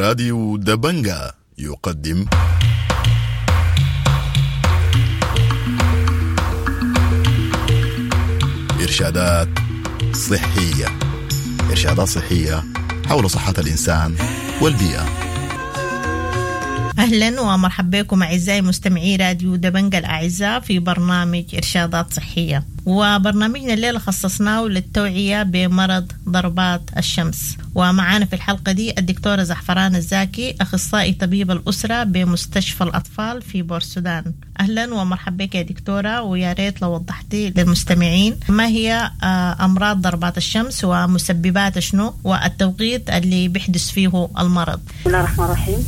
راديو دبنجا يقدم إرشادات صحية. إرشادات صحية حول صحة الإنسان والبيئة. أهلا ومرحبا بكم أعزائي مستمعي راديو دبنجا الأعزاء في برنامج إرشادات صحية، وبرنامجنا الليلة خصصناه للتوعية بمرض ضربات الشمس. ومعانا في الحلقة دي الدكتورة زعفران الزاكي، أخصائي طبيب الأسرة بمستشفى الأطفال في بورسودان. أهلا ومرحبا بك يا دكتورة، ويا ريت لو وضحتي للمستمعين ما هي أمراض ضربات الشمس ومسبباتها شنو والتوقيت اللي بيحدث فيه المرض. بسم الله الرحمن الرحيم.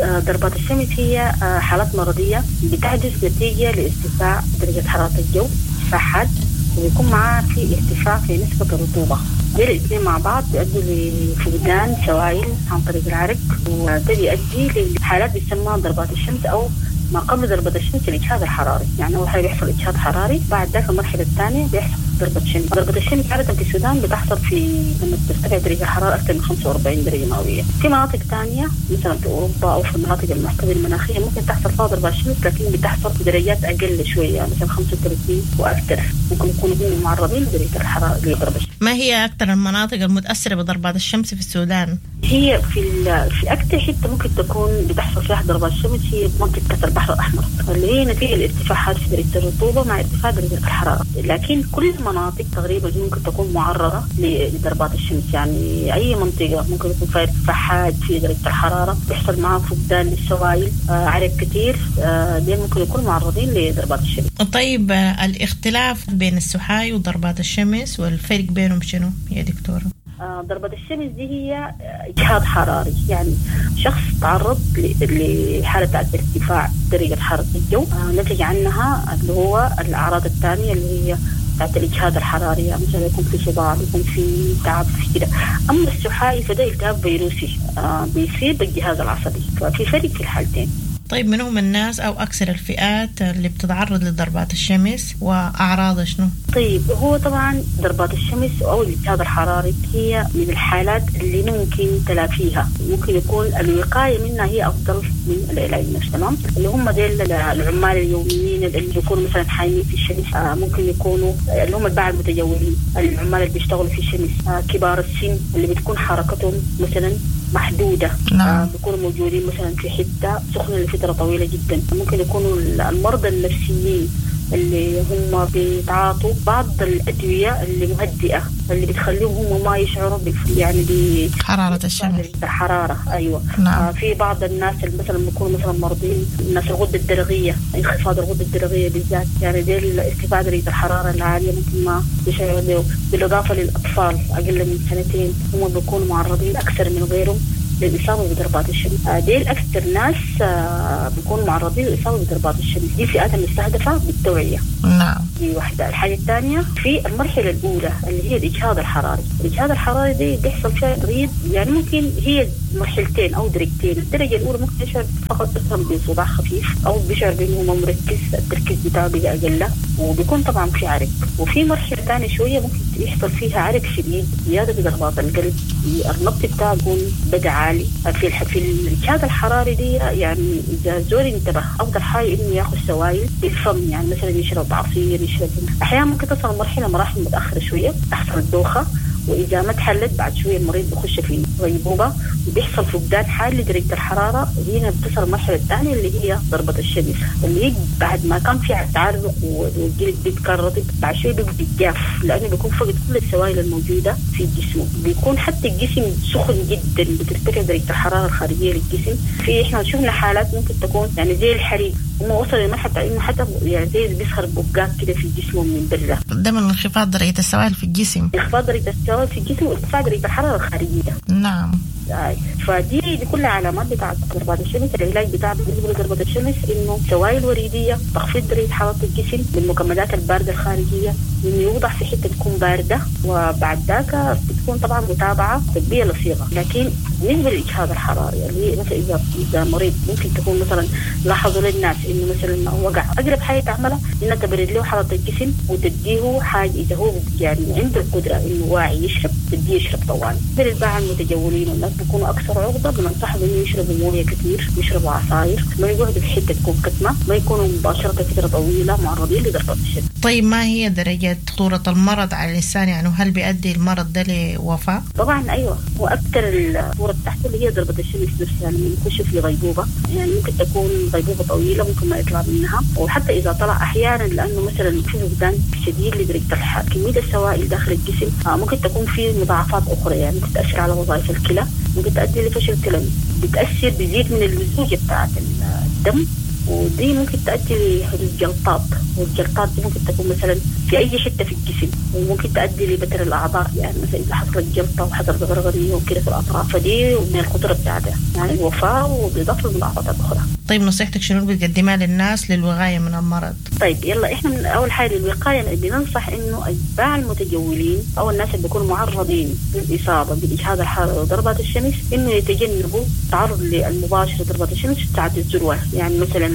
ضربات الشمس هي حالات مرضية بتحدث نتيجة لارتفاع درجة حرارة الجو ارتفاع حاد، وبيكون معها في ارتفاع في نسبة الرطوبة. دي الاثنين مع بعض بيؤدوا لفقدان سوائل عن طريق العرق، وده بيؤدي لحالات بيسمى ضربات الشمس أو ما قبل ضربة الشمس الإجهاد الحراري. يعني أول حاجة بيحصل إجهاد حراري، بعد ذاك المرحلة الثانية بيحصل ضربة شمس. ضربة الشمس عادة في السودان بتحصل في لما ترتفع درجة الحرارة أكثر من 45 درجة مئوية. في مناطق ثانية مثلا في أوروبا أو في المناطق المعتدلة المناخية ممكن تحصل فيها ضربة شمس، لكن بتحصل في درجات أقل شوية، مثلا 35 وأكثر، ممكن يكونوا هم معرضين لدرجة الحرارة لضربة الشمس. ما هي أكثر المناطق المتأثرة بضربات الشمس في السودان؟ هي في أكثر حتة ممكن تكون بتحصل فيها ضربات الشمس هي منطقة البحر الأحمر، اللي هي نتيجة الارتفاعات في درجة الرطوبة مع ارتفاع درجة الحرارة. لكن كل المناطق تقريبا ممكن تكون معرضة لضربات الشمس، يعني أي منطقة ممكن يكون فيها ارتفاع حاد في درجة الحرارة، بيحصل معها فقدان للسوائل، عرق كثير، دي ممكن يكونوا معرضين لضربات الشمس. طيب الاختلاف بين السحاي وضربات الشمس والفرق بينهم شنو يا دكتورة؟ ضربة الشمس دي هي إجهاد حراري، يعني شخص تعرض لحالة ارتفاع درجة حرارة الجو، نتج عنها اللي هو الأعراض الثانية اللي هي بتاعت الإجهاد الحراري، يعني مثلا يكون في صداع، يكون في تعب في كده. أما السحائي فده التهاب فيروسي بيصيب الجهاز العصبي، ففي فرق في الحالتين. طيب من هم الناس أو أكثر الفئات اللي بتتعرض لضربات الشمس وأعراضها شنو؟ طيب هو طبعا ضربات الشمس أو الإجهاد الحراري هي من الحالات اللي ممكن تلافيها، ممكن يكون الوقاية منها هي أفضل من العلاج نفسه. تمام، اللي هم ديل العمال اليوميين اللي بيكونوا مثلا حايمين في الشمس، ممكن يكونوا اللي هم الباعة المتجولين، العمال اللي بيشتغلوا في الشمس، كبار السن اللي بتكون حركتهم مثلا محدودة. نعم. بيكونوا موجودين مثلا في حتة سخنة لفترة طويلة جدا. ممكن يكونوا المرضى النفسيين اللي هم بيتعاطوا بعض الأدوية اللي مهدئة اللي بتخليهم هم ما يشعروا يعني بحرارة الشمس، الحرارة. أيوة. نعم. في بعض الناس اللي مثلا بيكونوا مثلا مرضين، الناس الغدة الدرقية، انخفاض الغدة الدرقية بالذات، يعني دي ارتفاع درجة الحرارة العالية ممكن ما يشعروا به. بالإضافة للأطفال أقل من سنتين هم بيكونوا معرضين أكثر من غيرهم للإصابة بضربات الشمس. ديل أكثر ناس بيكونوا معرضين للإصابة بضربات الشمس، دي فئات المستهدفة بالتوعية. نعم. دي واحدة. الحاجة الثانية في المرحلة الأولى اللي هي الإجهاد الحراري. الإجهاد الحراري دي بيحصل فيها تغيير، يعني ممكن هي مرحلتين أو درجتين. الدرجة الأولى ممكن يشعر فقط مثلا بصداع خفيف أو بيشعر بأنه ما مركز، التركيز بتاعه بيبقى أقل، وبيكون طبعا في عرق. وفي مرحلة ثانية شوية ممكن يحصل فيها عرق شديد، زيادة ضربات القلب، النبض بتاعه بيكون بدأ عالي. في الإجهاد الحراري دي يعني إذا الزول انتبه أفضل حاجة إنه ياخذ سوائل بالفم، يعني مثلا يشرب عصير، يشرب. أحيانا ممكن تصل مرحلة مراحل متأخرة شوية تحصل الدوخة، وإذا ما تحلت بعد شوية المريض بيخش في غيبوبة وبيحصل فقدان حاد لدرجة الحرارة. هنا بتصل المرحلة الثانية اللي هي ضربة الشمس، اللي هي بعد ما كان في تعرق والجلد بيبقى رطب، بعد شوية بيبقى جاف لأنه بيكون فقد كل السوائل الموجودة في الجسم، بيكون حتى الجسم سخن جدا، بترتفع درجة الحرارة الخارجية للجسم. في إحنا شفنا حالات ممكن تكون يعني زي الحريق، هم وصل لمرحلة إنه حتى يعني زي بيظهر بقات كده في جسمه من برا. ده من انخفاض درجة السوائل في الجسم. انخفاض درجة السوائل في الجسم وارتفاع درجة الحرارة الخارجية. نعم. فدي دي كلها علامات بتاعت ضربات الشمس. العلاج بتاع بالنسبة لضربة الشمس إنه سوائل وريدية، تخفيض درجة حرارة الجسم بالمكملات الباردة الخارجية، إنه يوضع في حتة تكون باردة، وبعد ذاك بتكون طبعا متابعه طبية لصيقه. لكن بالنسبة للاجهاد الحراري اللي مثلا اذا مريض ممكن تكون مثلا لاحظوا للناس انه مثلا وقع، اقرب حاجة تعملها انها تبرد له حرارة الجسم وتديه حاجة اذا هو يعني عنده القدرة انه واعي يشرب، تديه يشرب طوال. بالباعة المتجولين والناس بيكونوا اكثر عرضه، بننصحهم انه يشربوا مويه كثير، يشربوا عصاير، ما يقعدوا في حتة تكون كتمه، ما يكونوا مباشرة فترة طويلة معرضين لضربات الشمس. طيب ما هي درجه خطورة المرض على الانسان؟ يعني هل بيؤدي المرض ده لوفاه؟ طبعا ايوه، واكثر الخطورة بتاعته اللي هي ضربه الشمس نفسها لما يخش في غيبوبة، يعني ممكن تكون غيبوبة طويلة ممكن ما يطلع منها، وحتى اذا طلع احيانا لانه مثلا في فقدان شديد لدرجة كمية السوائل داخل الجسم، ممكن تكون في مضاعفات اخرى، يعني ممكن تاثر على وظائف الكلى، ممكن تؤدي لفشل كلوي، بتاثر بيزيد من اللزوجه بتاعت الدم، ودي ممكن تؤدي لحدوث جلطات، والجلطات دي ممكن تكون مثلا في اي حتة في الجسم، وممكن تؤدي لبتر الاعضاء، يعني مثلا اذا حصلت جلطة وحصلت غرغريه وكده في الاطراف، فدي من الخطورة بتاعتها يعني الوفاة وبالاضافة للمضاعفات الاخرى. طيب نصيحتك شنو بتقدمها للناس للوقايه من المرض؟ طيب يلا احنا من اول حاجة للوقايه بننصح انه اتباع المتجولين او الناس اللي بيكونوا معرضين للاصابة بالاجهاد الحراري وضربات الشمس انه يتجنبوا التعرض المباشر لضربات الشمس في ساعات الذروة، يعني مثلا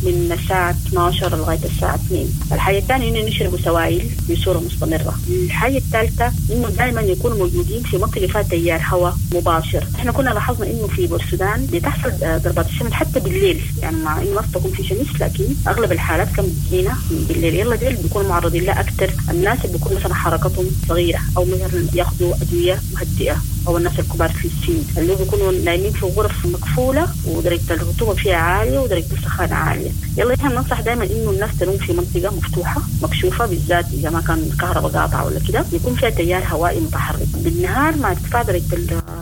من الساعة 12 لغاية الساعة 2. الحاجة الثانية انه يشربوا سوائل بصورة مستمرة. الحاجة الثالثة انه دائما يكونوا موجودين في منطقة فيها تيار هواء مباشر. احنا كنا لاحظنا انه في بورسودان بتحصل ضربات الشمس حتى بالليل، يعني مع انه ما تكون في شمس لكن اغلب الحالات كان بتجينا بالليل. يلا ديل بيكونوا معرضين لها اكثر الناس اللي بيكون مثلا حركتهم صغيرة او مثلا ياخذوا ادوية مهدئه، او الناس الكبار في السن اللي بيكونوا نايمين في غرف مقفولة ودرجة الرطوبة فيها عالية ودرجة السخانه عالية. يلا احنا بننصح دائما انه الناس تنوم في منطقة مفتوحة مكشوفة، بالذات اذا ما كان الكهرباء قاطعه ولا كده، يكون فيها تيار هوائي متحرك بالنهار مع ارتفاع درجه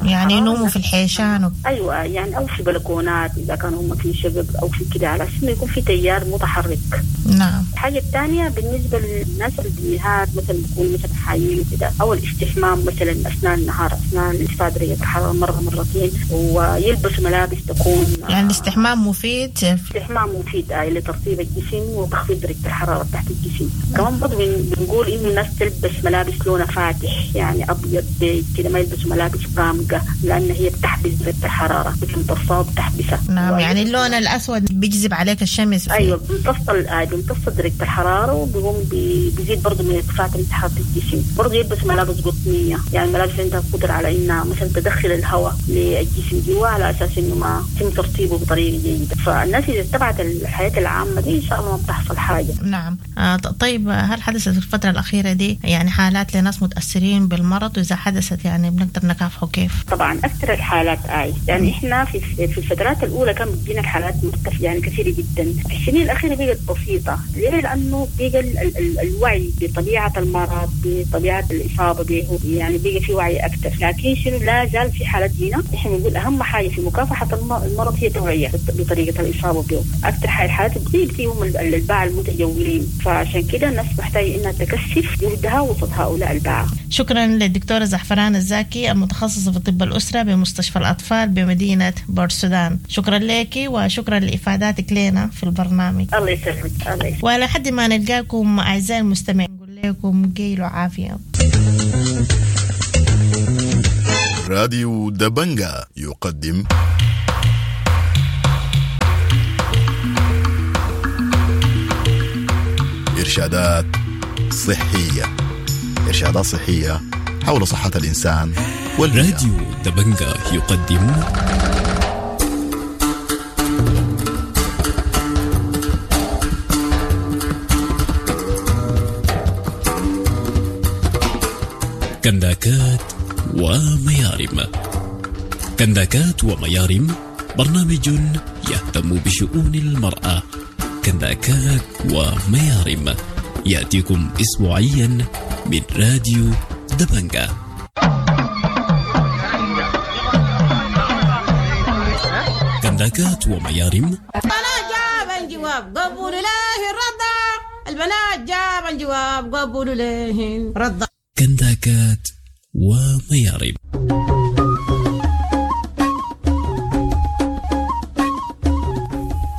يعني ينوموا في الحيشان ايوه، يعني او في بلكونات اذا كانوا هم في شقق او في كده، على اساس انه يكون في تيار متحرك. نعم. الحاجة الثانية بالنسبة للناس اللي بالنهار مثلا بيكونوا مثلا حايين وكده، او الاستحمام مثلا اثناء النهار اثناء ارتفاع درجه الحرارة مرة مرتين، ويلبسوا ملابس تكون يعني الاستحمام مفيد. الاستحمام مفيد لترطيب الجسم وتخفيض درجه الحرارة تحت الجسم. كمان برضه بنقول انه الناس تلبس ملابس لونها فاتح، يعني ابيض بيج كده، ما يلبسوا ملابس غامقه لان هي بتحبس درجه الحرارة، بتمتصها وبتحبسها. نعم، يعني اللون الاسود بيجذب عليك الشمس. ايوه، بيمتص درجه الحرارة وبيقوم بيزيد برضه من ارتفاع درجه حرارة الجسم. برضه يلبس ملابس قطنيه، يعني ملابس عندها قدره على انها مثلا تدخل الهواء للجسم جوا على اساس انه ما يتم ترطيبه بطريقة جيدة. فالناس اذا اتبعت الحياة العامة دي ان شاء الله ما بتحصل حاجة. نعم. طيب هل حدثت في الفترة الاخيرة دي يعني حالات لناس متاثرين بالمرض، واذا حدثت يعني بنقدر نكافحه كيف؟ طبعا اكثر الحالات يعني احنا في الفترات الاولى كان بتجينا الحالات مرتفعة يعني كثيرة جدا. في السنين الاخيرة بقت بسيطة. ليه؟ لانه بقى الوعي بطبيعة المرض، بطبيعة الاصابة به، يعني بقى في وعي اكثر. لكن شنو لا زال في حالات هنا احنا بنقول اهم حاجة في مكافحة المرض هي التوعية بطريقة الاصابة به. اكثر الحالات بتصيب هم الباعة المتجولين، فعشان كده الناس محتاجه انها تكثف جهدها وسط هؤلاء الباعة. شكرا للدكتوره زعفران الزاكي المتخصصة في طب الاسرة بمستشفى الاطفال بمدينة بورسودان. شكرا لك وشكرا لافاداتك لنا في البرنامج. الله يسلمك. الله يسلمك. ولحد ما نلقاكم اعزائي المستمعين نقول لكم قيل وعافيه. راديو دبنجا يقدم إرشادات صحية. إرشادات صحية حول صحة الإنسان والبيئة. راديو دبنجا يقدم كنداكات وميارم. كنداكات وميارم برنامج يهتم بشؤون المرأة. كنداكات وميارم يأتيكم أسبوعيا من راديو دبنجا. كنداكات وميارم. البنات جاب الجواب قبول له الرضا، البنات جاب الجواب قبول له الرضا. كنداكات وميارم.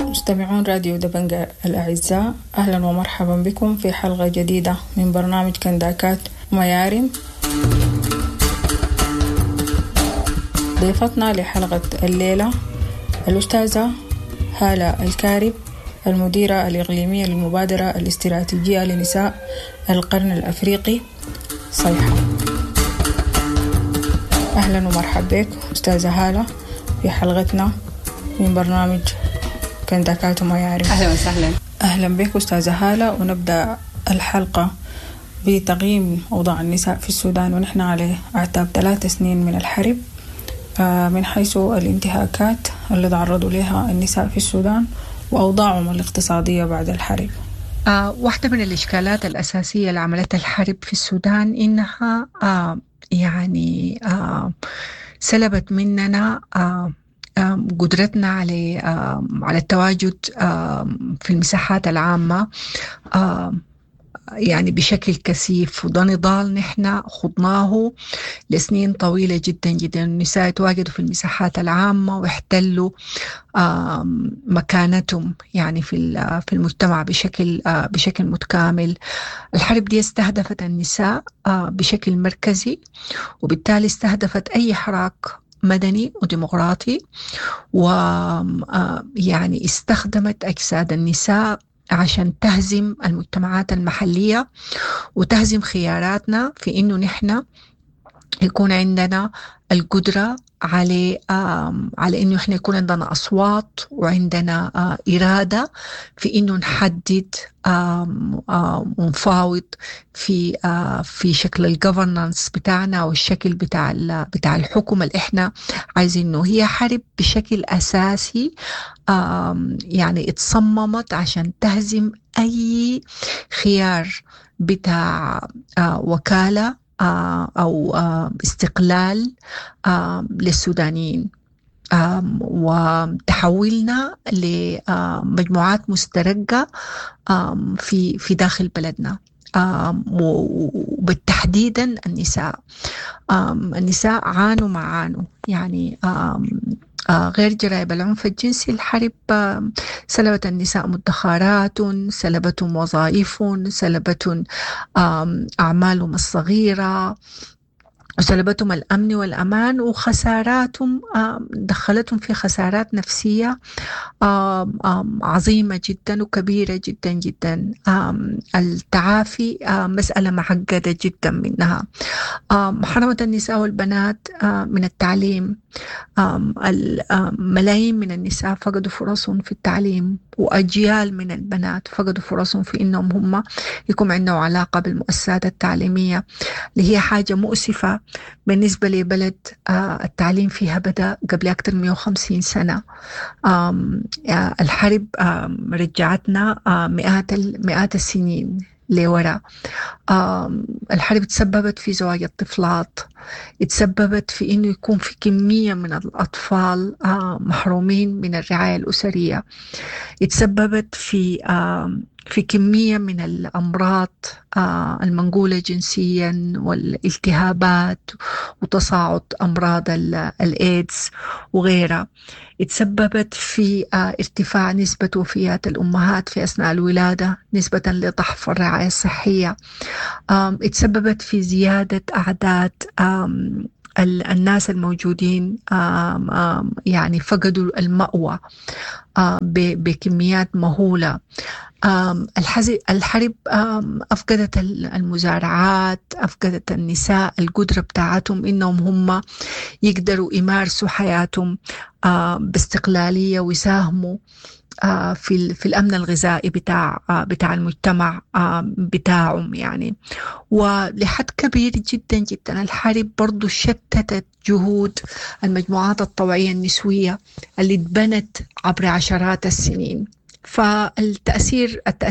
مستمعون راديو دبنجا الأعزاء، أهلا ومرحبا بكم في حلقة جديدة من برنامج كنداكات وميارم. ضيفتنا لحلقة الليلة الأستاذة هالة الكارب، المديرة الإقليمية للمبادرة الاستراتيجية لنساء القرن الأفريقي صيحة. أهلا ومرحبا بك أستاذة هالة في حلقتنا من برنامج كنداكات وميارم. أهلا وسهلا. أهلا بك أستاذة هالة، ونبدأ الحلقة بتقييم أوضاع النساء في السودان ونحن على أعتاب 3 سنين من الحرب، من حيث الانتهاكات اللي تعرضوا لها النساء في السودان وأوضاعهم الاقتصادية بعد الحرب. واحدة من الإشكالات الأساسية اللي عملتها الحرب في السودان إنها يعني سلبت مننا قدرتنا على التواجد في المساحات العامة يعني بشكل كثيف، وده نضال نحن خضناه لسنين طويلة جدا جدا. النساء تواجدوا في المساحات العامة واحتلوا مكانتهم يعني في المجتمع بشكل متكامل. الحرب دي استهدفت النساء بشكل مركزي، وبالتالي استهدفت أي حراك مدني وديمقراطي، ويعني استخدمت أجساد النساء عشان تهزم المجتمعات المحلية وتهزم خياراتنا في إنه نحن يكون عندنا القدرة على إنه إحنا يكون عندنا أصوات وعندنا إرادة في إنه نحدد ونفاوض في شكل الجوفرنانس بتاعنا والشكل بتاع الحكم اللي إحنا عايزينه. هي حرب بشكل أساسي يعني اتصممت عشان تهزم أي خيار بتاع وكالة أو استقلال للسودانيين، وتحولنا لمجموعات مسترقة في داخل بلدنا، وبالتحديدا النساء. النساء عانوا ما عانوا يعني غير جرائم العنف الجنسي. الحرب سلبت النساء مدخرات، سلبتهم وظائفهم، سلبتهم أعمالهم الصغيرة، وسلبتهم الأمن والأمان، وخساراتهم دخلتهم في خسارات نفسية عظيمة جدا وكبيرة جدا جدا. التعافي مسألة معقدة جدا منها. حرمت النساء والبنات من التعليم. ملايين من النساء فقدوا فرصهم في التعليم، وأجيال من البنات فقدوا فرصهم في إنهم هم يكون عندهم علاقة بالمؤسسات التعليمية، اللي هي حاجة مؤسفة بالنسبة لبلد التعليم فيها بدأ قبل أكثر من 150 سنة. الحرب رجعتنا مئات السنين لورا. الحرب تسببت في زواج الطفلات، تسببت في إنه يكون في كمية من الأطفال محرومين من الرعاية الأسرية، تسببت في كمية من الأمراض المنقولة جنسيا والالتهابات وتصاعد أمراض الإيدز وغيرها، تسببت في ارتفاع نسبة وفيات الأمهات في أثناء الولادة نسبة لضعف الرعاية الصحية، تسببت في زيادة أعداد الناس الموجودين يعني فقدوا المأوى بكميات مهولة. الحرب أفقدت المزارعات، أفقدت النساء القدرة بتاعتهم إنهم هم يقدروا يمارسوا حياتهم باستقلالية ويساهموا في الأمن الغذائي بتاع المجتمع بتاعهم يعني. ولحد كبير جدا جدا الحرب برضو شتتت جهود المجموعات الطوعية النسوية اللي اتبنت عبر عشرات السنين. فالتأثير